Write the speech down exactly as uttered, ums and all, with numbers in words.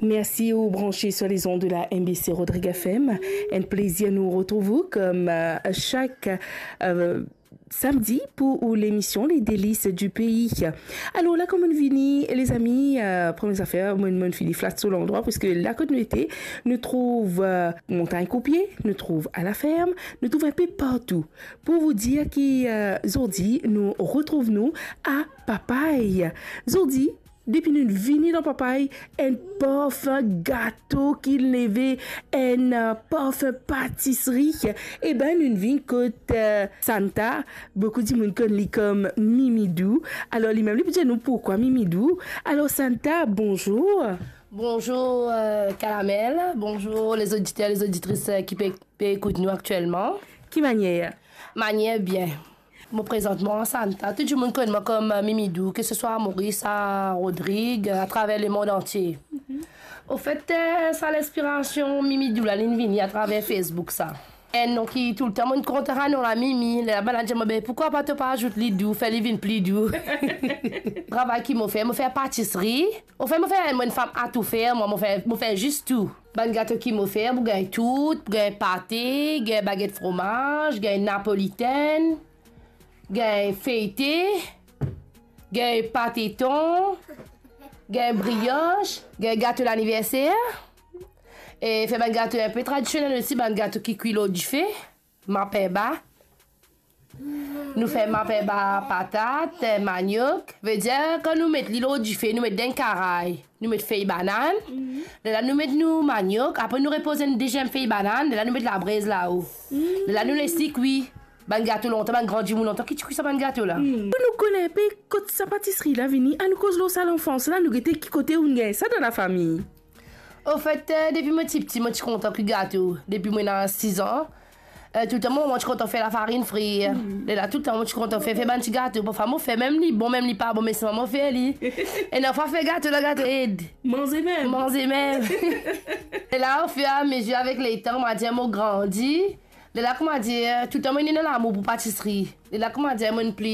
Mersi ou branche sur les ondes de la M B C Rodrigues F M. Enn plezir nou retrouv ou kom, euh, chak, euh, samdi pou ou lemision Les Délices du Pays. Alor la, kouma nou vini, lezami, euh, premie zafer, mo, mo fini flat so landrwa, parski la kot nou ete, nou trouv, euh, Montagne Coupie, nou trouv La Ferme, nou trouv enpe partou. Pou vous dire ki, euh, zordi nou retrouv nou a Papay. Zordi, depi nou vini dan Papay, enn parfin gato ki leve, enn, euh, parfin patisri. Eben, nou vinn kot, euh, Santa, boukou dimoun konn li kom Mimidou. Alor, limem li pou dir nou poukwa Mimidou. Alor, Santa, bonzour. Bonzour, euh, Karamel. Bonzour, les auditeurs, les auditrices, euh, ki pe, pe ekout nou aktielman. Ki manier? Manier bien. Mo prezant mwa Santa. Tou dimoun konn mwa kom, euh, Mimidou, ke se swa a Moris, a Rodrig, euh, atraver lemond antie. Ofet, euh, sa linspirasion Mimidou la, linn vini atraver Facebook sa. Enn non ki toultan mo'nn kontan, sa non la Mimi. Lerla bann la dir mwa, "Be, poukwa pa to pa azout li dou, fer li vinn pli dou." Travay ki mo fer, mo fer patisri. Ofet, mo fer, mo enn fam a tou fer, mwa, mo fer, mo fer zis tou. Bann gato ki mo fer, pou gagn tout, pou gagn pate, gagn baget fromaz, gagn napolitenn, gagn feyte, gagn pate ton, gagn brios, gagn gato laniverser. E fer bann gato enpe tradisionel osi, bann gato ki kwi lor dife, mapemba. Nou fer mapemba patat, maniok. Vedir, kan nou met li lor dife, nou met dan enn karay, nou met fey banann. Lerla nou met nou maniok, apre nou repoz enn deziem fey banann, lerla nou met labrez lao. Lerla nou les li kwi. Bann gato lontan, bann gran dimoun lontan ki ti kwi sa bann gato la. Pou nou kone enpe kot sa patisri la vini, anou koz lor sa lanfans la, nou gete ki kote ou'nn gagn sa dan lafami. Ofet, euh, depi mo ti piti, mo ti kontan kwi gato. Depi mo ena siz an, euh, toultan mo, mo ti kontan fer lafarinn frir. Lerla toultan mo ti kontan fer, fer bann ti gato. Parfwa mo fer, mem li bon, mem li pa bon, me selman mo fer li. E enn fwa fer gato la, gato ed. Manze mem. Manze mem. Lerla, ofiramezie avek letan, mo dir mo grandi. Lerla, kouma dir, toultan mo ena lamour pou patisri. Lerla, kouma dir, mo'nn pli